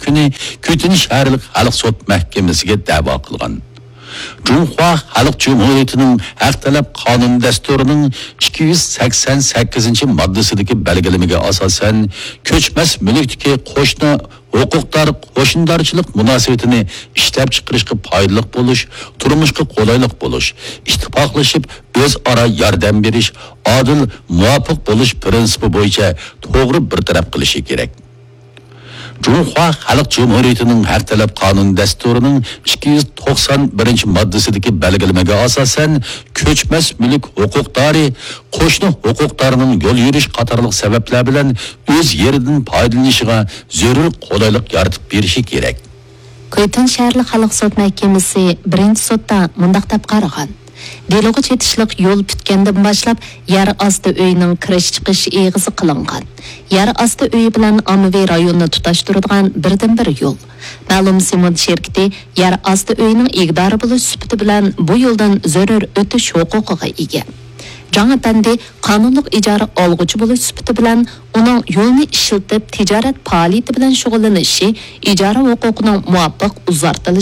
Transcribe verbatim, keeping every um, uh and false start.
كۈنى كۈتۈن شەھەرلىك خەلق سوت مەھكىمىسىگە دەۋا قىلغان. جۇڭخۇا خەلق جۇمھۇرىيىتىنىڭ ھەق تەلەپ قانۇن دەستۇرىنىڭ ئىككى يۈز سەكسەن سەككىزىنچى ماددىسىدىكى بەلگىلىمىگە ئاساسەن، كۆچمەس مۈلۈكتىكى قوشنا ھوقۇقدار قوشنىدارچىلىق مۇناسىۋىتىنى ئىشلەپچىقىرىشقا پايدىلىق بولۇش، تۇرمۇشقا قولايلىق بولۇش، ئىتتىپاقلىشىپ ئۆزئارا ياردەم بېرىش، ئادىل، مۇۋاپىق بولۇش پىرىنسىپى بويىچە توغرا بىر تەرەپ قىلىشى كېرەك. جۇڭخۇا خەلق جۇمھۇرىيىتىنىڭ ھەق تەلەپ قانۇن دەستۇرىنىڭ ئىككى يۈز توقسان بىرىنچى ماددىسىدىكى بەلگىلىمىگە ئاساسەن، كۆچمەس مۈلۈك ھوقۇقدارى قوشنا ھوقۇقدارنىڭ يول يۈرۈش قاتارلىق سەۋەبلەر بىلەن ئۆز يېرىدىن پايدىلىنىشىغا زۆرۈر قولايلىق يارىتىپ بېرىشى كېرەك. كۇيتىن شەھەرلىك خەلق سوت مەھكىمىسى بىرىنچى سوتتا مۇنداق دەپ قارىغان: دېلوغا چېتىشلىق يول پۈتكەندىن باشلاپ، يەر ئاستى ئۆيىنىڭ كىرىش-چىقىش ئېغىزى قىلىنغان، يەر ئاستى ئۆيى بىلەن ئاممىۋى رايوننى تۇتاشتۇرىدىغان بىردىنبىر يول. مەلۇم سېمونت شىركىتى يەر ئاستى ئۆيىنىڭ ئىگىدارى بولۇش سۈپىتى بىلەن بۇ يولدىن زۆرۈر ئۆتۈش ھوقۇقىغا ئىگە. جاڭ ئەپەندى قانۇنلۇق ئىجارە ئالغۇچى بولۇش سۈپىتى بىلەن ئۇنىڭ يولنى ئىشلىتىپ تىجارەت پائالىيىتى بىلەن شۇغۇللىنىشى ئىجارە ھوقۇقىنىڭ مۇۋاپىق ئۇزارتىلىشىغا